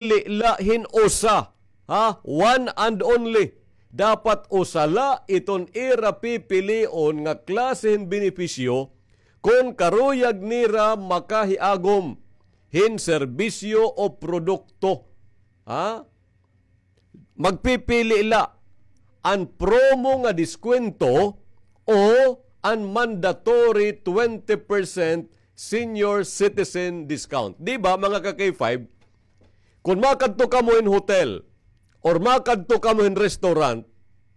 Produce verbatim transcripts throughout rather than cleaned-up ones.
la hin usa, ha? One and only. Dapat usa la iton ira pipilion nga klase hin benepisyo kon karuyag nira makahiagom hin serbisyo o produkto. Ha? Magpipili la an promo nga diskwento o an mandatory twenty percent senior citizen discount. Di ba, mga ka-K five, kon makadto kamo hin hotel or makadto kamo hin restaurant,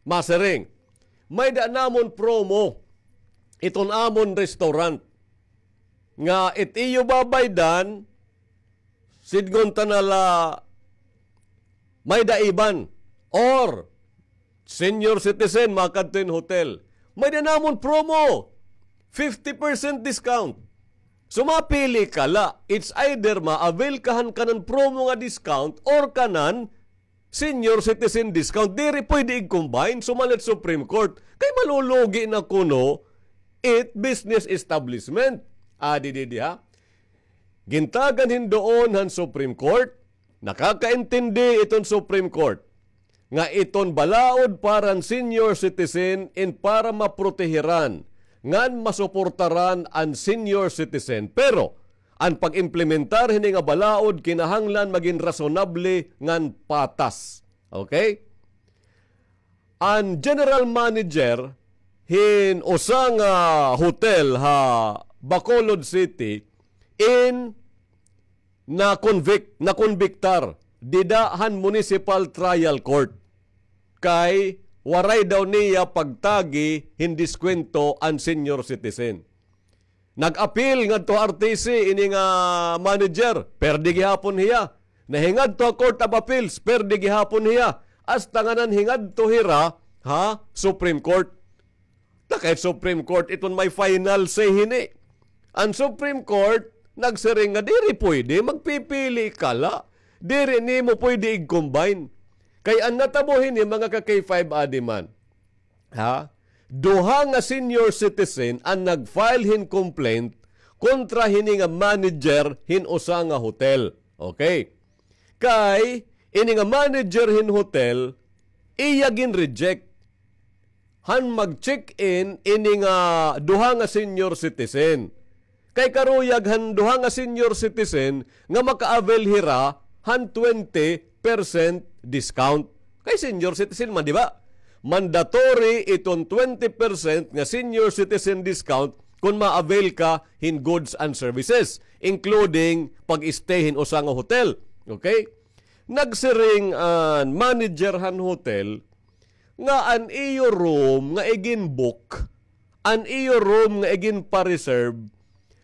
masiring, "May-ada namon promo iton amon restaurant nga it iyo babaydan, sidngon ta na la may-ada iban, or senior citizen, makadto hin hotel. May-ada namon promo, fifty percent discount." So, mapili ka la. It's either ma-avail ka han kanan promo nga discount or kanan senior citizen discount. Diri pwede i-combine, sumalit Supreme Court. Kay malulugi na kuno it business establishment. Adi didi, ha? Gintagan hin duon han Supreme Court, nakakaintindi iton Supreme Court nga iton balaod para han senior citizen in para maprotehiran ngan masuportaran an senior citizen. Pero an pag-implementar hini nga balaod kinahanglan magin rasonable ngan patas. Okay? An general manager hin usa nga hotel ha Bacolod City in na-convict, nakonbiktar dida han municipal trial court kay waray daw niya pagtagi hin diskwento an senior citizen. Nag-apil ngadto ha R T C ini nga manager, perde gihapon hiya. Nahingadto ha Court of Appeals, perde gihapon hiya. Hasta nganan hingadto hira ha Supreme Court. Ta kay Supreme Court iton may final say hini. An Supreme Court nagsiring nga diri pwede, magpipili ka la. Diri nimo pwede i-combine. Kay an natabo hini, mga ka-K five, adi man, ha? Duha nga senior citizen an nag-file hin complaint kontra hini nga manager hin usa nga hotel. Okay? Kay ini nga manager hin hotel, iya gin-reject han mag-check-in ini nga duha nga senior citizen. Kay karuyag han duha nga senior citizen nga maka-avail hira han twenty percent discount. Kay senior citizen man, di ba? Mandatory iton twenty percent nga senior citizen discount kon ma-avail ka hin goods and services, including pag-stay hin usa nga hotel. Okay? Nagsiring an manager han hotel nga an iyo room nga igin-book, an iyo room nga igin-pa-reserve,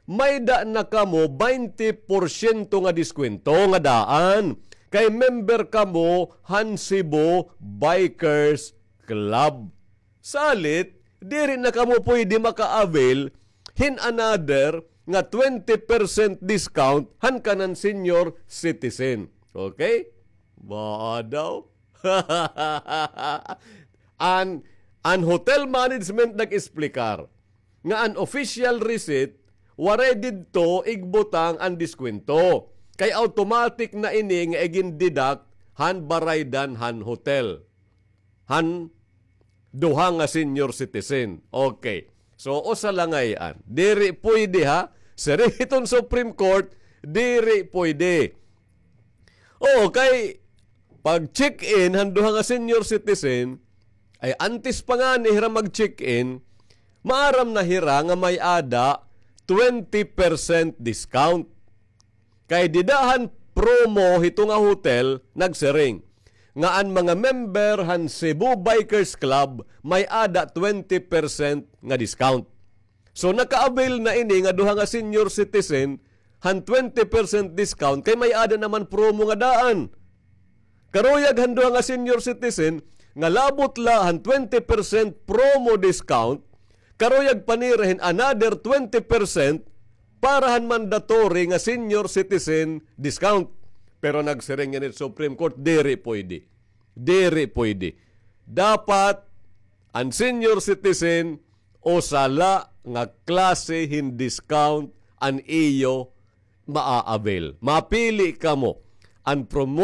may-ada na kamo baynte porsyento nga diskwento nga daan kay member kamo han Cebu Bikers Club. Salit, diri na kamo pwede maka-avail hin another nga twenty percent discount han kanan senior citizen. Okay? Baa daw? An, an hotel management nag-esplikar nga an official receipt, waray didto igbutang an diskwento. Kay automatic na ini nga igin-deduct han baraydan han hotel han duha nga senior citizen. Okay. So, usa la ngay-an. Diri pwede, ha? Siring hiton Supreme Court, diri pwede. Oo, kay pag-check-in han duha nga senior citizen, ay antes pa ngani hira mag-check-in, maaram na hira nga may-ada twenty percent discount. Kay dida han promo hito nga hotel, nagsiring nga an mga member han Cebu Bikers Club may-ada twenty percent nga discount. So, naka-avail na ini nga duha nga senior citizen han twenty percent discount kay may-ada naman promo nga daan. Karuyag han duha nga senior citizen nga labot la han twenty percent promo discount, karuyag pa nira hin another twenty percent para han mandatory nga senior citizen discount. Pero nagsiring ngani it Supreme Court, diri pwede. Diri pwede. Dapat an senior citizen, usa la nga klase hin discount an iyo maa-avail. Mapili kamo. an promotion